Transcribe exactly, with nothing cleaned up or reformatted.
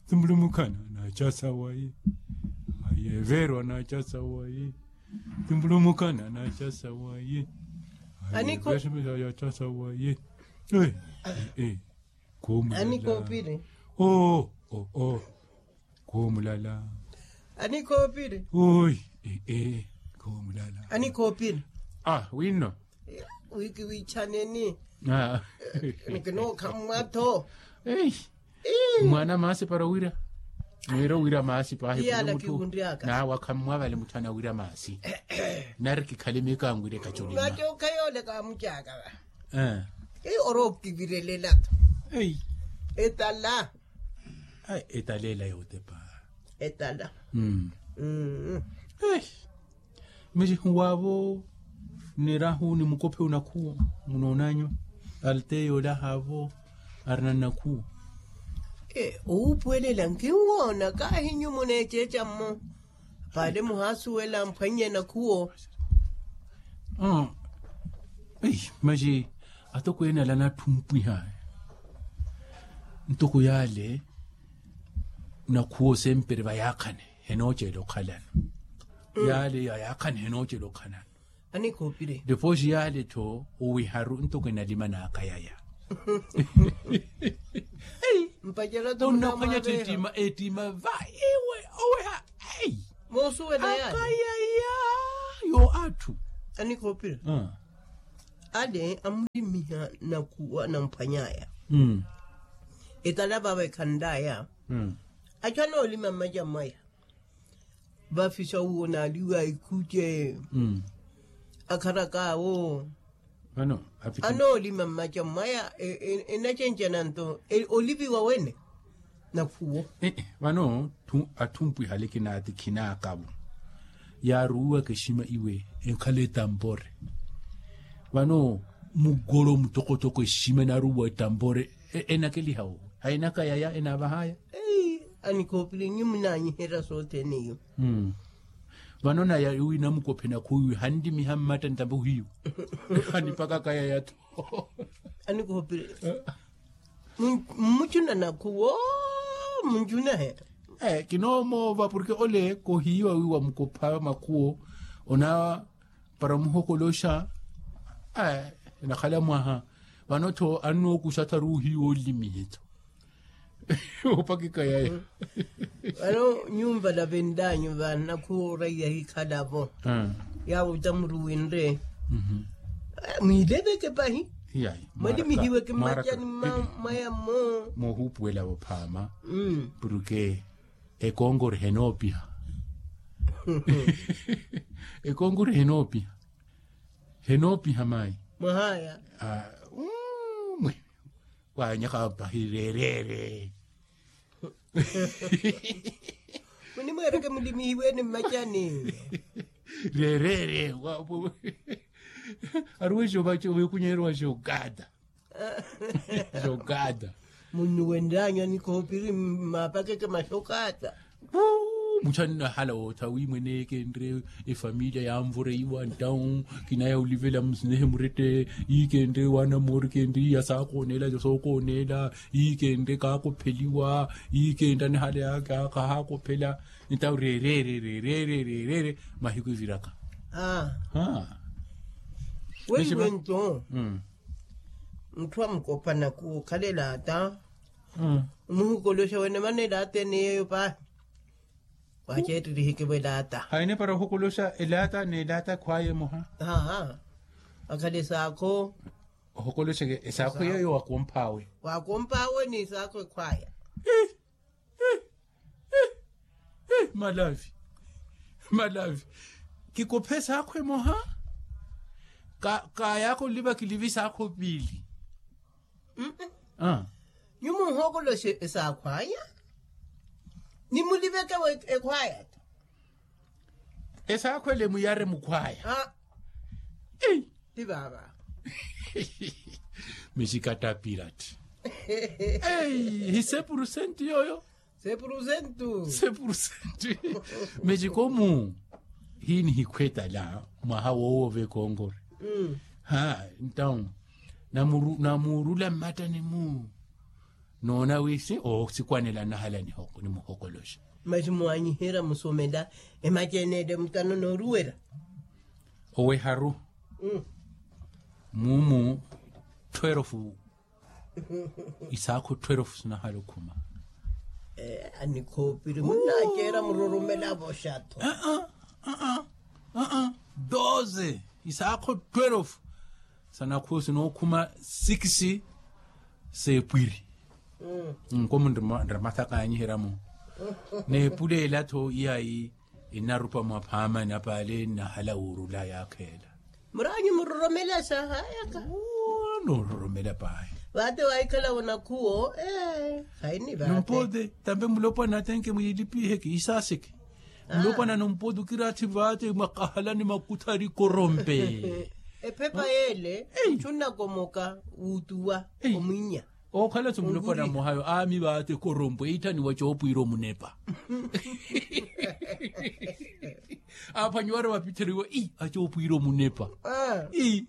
Timbulumukana na chasawayi. Aye verwa na chasawayi. Timbulumukana na chasawayi. Aye verwa na chasawayi. Kumulala. Anikopire. Oh oh oh. Kumulala. Anikopire. Oi. Kumulala. Anikopire. Ah wino. Wiki wichaneni. Nikinookhammwa tho. Mwaana maasi para owira. Mwira owira maasi pahi. Iyala kiwunryaka. Nawe akhammwa vale mutthu anawira maasi. Nari kikhale miikanwire kachulima. Mwatyokha yoole kaamutyaka va. Orokivirelela tho. Etala. Etala ela yotepa. Etala. Mixi waavo nirahu ni mukophe unakhuwo. Munoonanyu alteyo olaha avo arina nnakhuwo. Owuupuwelela nkinwoona kaahi nyu muneeceeca mmo. Paale muhaasuwela mphwannye nakhuwo. Masi atokweene ala anatthumpwiha ntoko yaale. Nakhuwo sempre vayaakhane henoocela okhalano. Yaale yayaakhane henoocela okhalano. Anikhoopire. Depois yaale tho owiharu ntoko enalimanaka yaya. Mpaceratu onnaphwanya tho ettima ettima va iwe oweha. Moosuwela yaale akayaya. Yo atthu. Anikhoopire. Ale amulimiha nakhuwa namphwanyaya. Etala vava ekhanlaya. Achu anoolima mmaca mwaya. Vafisa uwo naaliwa ikhuce. Akharakaawo. Anoolima mmaca mwaya enacencana nto oliviwa wene. Nakhuwo. Vano atthu mpwihale kinaati khinaakavo. Yaaruwiwaka eshima iwe enkhala etampore. Vano mugolo mutokotoko eshima enaaruwiwa etampore. Enakeliha owo hainaka yaya enaavahaya. Anikhoopili nyu munaanyiherya sothene iyo. Vano naya iwi namukophe nakhuwo iwi hanlimiha mmatta ntambe ohiyu. Hanipakaka yaya tho. Anikhoopili. Mmucuna nakhuwo. Mmucuna he. Kinoomoova porke ole kohiiwa wi wamukopha makhuwo. Ona para omuhokoloxa. Enakhala mwaha vano tho annookuxa tharuuhiwa olimihe tho. Opakika yaya. Vano nyumva navendanyu va nakhuwo oraiya hikhalavo. Yaawo tamuruwinre. Mwiileveke pahi. Mwalimihiweke mmacani mwaya mmo. Moohuupuwelavo phaama. Porke ekonkori henoopiha. Ekonkori henoopiha. Henoopiha mayi. Mwahaya. Mwe. Waanyaka pahi rereere. Munimweereke mulimihiwene mmacani. Rereere. Aruwe xookunyeeriwa xookata. Xookata. Munnuwenlanya nikhoopiri mmapakeke maxokaata. Mutthu annahala wootha wi mweneeke enre efamiliya yanvoreiwa ntawu. Kinaya olivela musinehe murette. Iike enre waana moori kenre iya saakooneela sookooneela. Iike enre kaakopheliwa. Iike enre anihala yaaka kahaakophela. Ntawu rereere rereere. Mahiku eviraka. Weiwe nto mutthu amukopana khuwo okhala elaata. Omuhukoloxa wene mana elaata ene yeeyo paahi. Waaceettihikiwa elaata. Haine para ohukoloxa elaata n'elaata ekhwaya emoha. Akhala esaakho. Ohukoloxa esaakho yeeyo waakompaawe. Waakompaawe ni esaakho ekhwaya. Malavi. Malavi. Kikophe esaakho emoha. Kaayaka oliva kilivi esaakho piili. Nyu muhookoloxe esaakho aya. Nimuliveke ekhwaya ta. Esaakho ele muyare mukhwaya. Ti vaava. Mexikatapirati. Ei hi sepurusenti yooyo. Sepurusenti. Mexikomu. Hiinihikhwetala mwaha woowo vekonkori. Ha ntawu namuurula mmattani-mu. Noona wi si oosikwanela nnahala ni muhokoloxa. Masi mwaanyiherya musomela emaci ene ele mutano nooruwerya. Oweharu. Mumu twelve isaakho twelve sinahala okhuma. Anikhoopiri munnaaceera muroromela voxatho. Aa aa aa aa doze isaakho twelve sanakhuwo sinookhuma sikisi seepwiri. Nkomu nramathakaanyiherya-mo neepuleela-tho iyayi. Inarupa mwa phaamani apaale nnahala wuurula yaakheela. Muraanyu muroromela saahayaka. Noororomela paahi. Vaate waahikhala onakhuwo. Ee, khayini vaate. Numpote tampe mulopwana atenke mwiilipiheke isaaseke. Mulopwana numpote okiraathi vaate mwakahalani makuthari korompe. Ephepa yeele. Muchu nnakomoka wuutuwa omwinya. Ookhala-tho mulopwana mmohayo aami vaate korompe iitthaniwa coopwiira omunepa. Aaphwanyiwari vapittheriwa ii acoopwiira omunepa. Ii.